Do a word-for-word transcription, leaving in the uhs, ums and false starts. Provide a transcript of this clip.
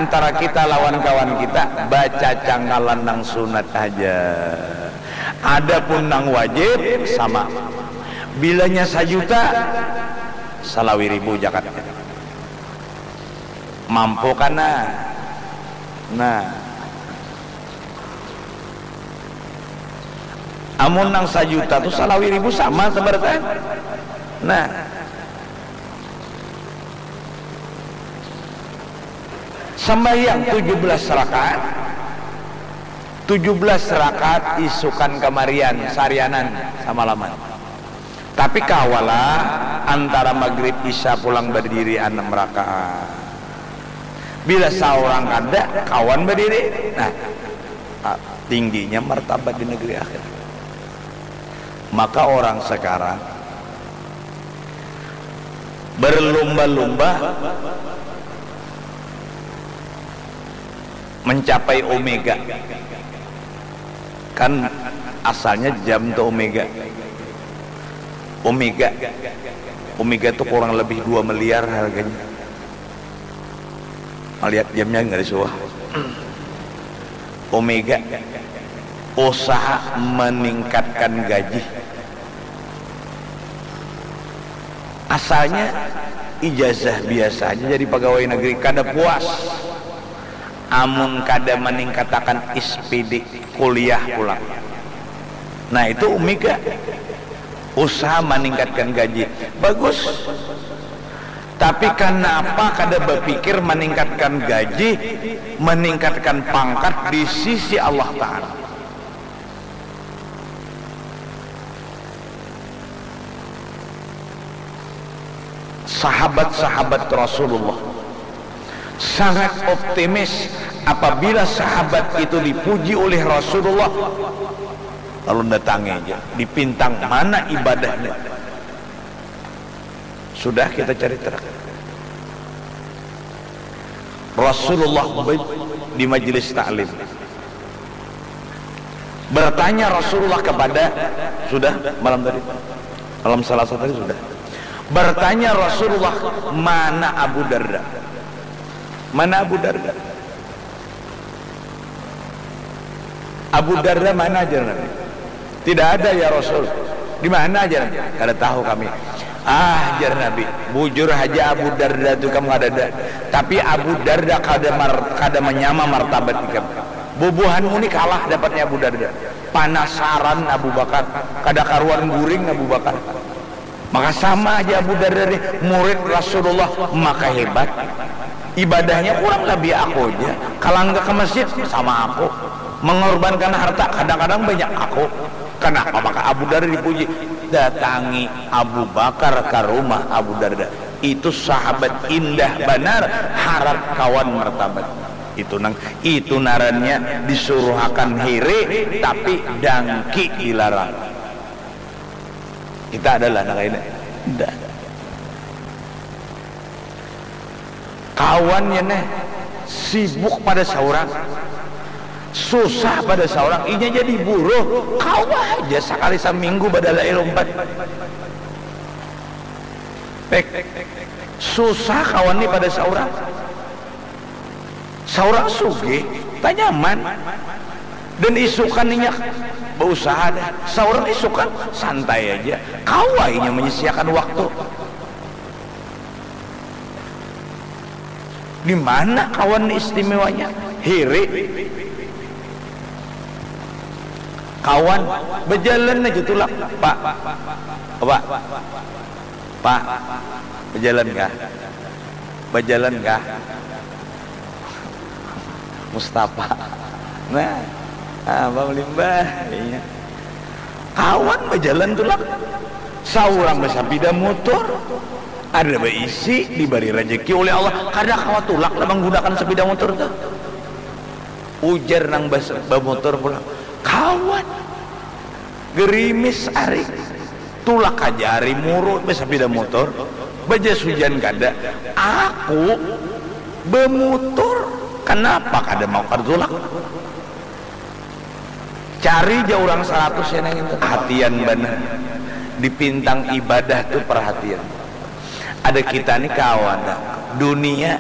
Antara kita lawan kawan kita, bacacangkalan nang sunat haja. Adapun nang wajib, sama. Bilanya sajuta, salawi ribu jakatnya. Mampu kana? Nah. Amun nang sajuta tu salawi ribu sama sabarataan. Nah. Sambahyang tujuh belas rakaat. Tujuh belas rakaat isukan kamarian, sarianan, samalaman. Tapi kawalah antara magrib isya pulang badiri anam rakaat. Bila saurang kada, kawan badiri. Nah, ah, tingginya martabat di negeri akhirat. Maka orang sekarang berlumba-lumba mencapai omega. Kan asalnya jam tu omega. Omega. Omega tu kurang lebih dua miliar harganya. Malihat jamnya nggak disuah. Omega. Usaha meningkatkan gaji. Asalnya ijazah biasa aja jadi pegawai negeri, kada puas. Amun kada meningkatakan S P D, kuliah pulang. Nah, itu Umi Ga. Usaha meningkatkan gaji. Bagus. Tapi kenapa kada berpikir meningkatkan gaji, meningkatkan pangkat di sisi Allah Ta'ala? Sahabat-sahabat Rasulullah sangat optimis apabila sahabat itu dipuji oleh Rasulullah, lalu datangi aja, dipintang mana ibadahnya. Sudah kita cari terang. Rasulullah di majelis taklim. Bertanya Rasulullah kepada, sudah malam tadi, malam Selasa tadi sudah. Bertanya Rasulullah, mana Abu Darda? Mana Abu Darda? Abu Darda mana, jar Nabi. Tidak ada, ya Rasul. Di mana, jar Nabi. Kada tahu kami. Ah, jar Nabi, bujur haja Abu Darda tu kam kadada. Tapi Abu Darda kada mar, kada manyama martabat ikam. Bubuhanmu ni kalah dapatnya Abu Darda. Panasaran Abu Bakar, kada karuan guring Abu Bakar. Maka sama aja Abu Darda ni, murid Rasulullah, maka hebat. Ibadahnya kurang lebih aku aja. Kalangga ke masjid sama aku. Mengorbankan harta kadang-kadang banyak aku. Kenapa maka Abu Darda dipuji? Datangi Abu Bakar ke rumah Abu Darda. Itu sahabat indah banar, harat kawan martabat. Itu nang, itu narannya disuruhakan hiri tapi dangki dilarang. Kita adalah anak ini. Nda. Kawannya neh sibuk pada saurang, susah pada saurang, inya jadi buruh, kawa aja sakali saminggu badalai lumpat. Pek, susah kawan ni pada saurang. Saurang sugih, tanyaman. Dan isukan inya bausaha dah. Saurang isukan santai aja. Kawa inya menyisiakan waktu. Di mana kawan ni istimewanya? Hiri. Kawan, bajalan aja tulak. Pak, Pak, Pak, bajalan kah? Bajalan kah? Mustafa. Nah, ah, Bang Limbah, iya. Kawan bajalan tulak. Saurang bersepeda motor. Ada beisi, diberi rezeki oleh Allah. Kada kawa tulak lah menggunakan sepeda motor tuh. Ujar nang bas, bamotor pulang. Kawan. Gerimis ari. Tulak aja ari muru, besapida motor, bajas hujan kada. Aku bemutur, kenapa kada mau kada tulak? Cari ja urang saratus ya nang itu. Perhatian banar. Dipintang ibadah tu perhatian. Ada kita ni kawan, dunia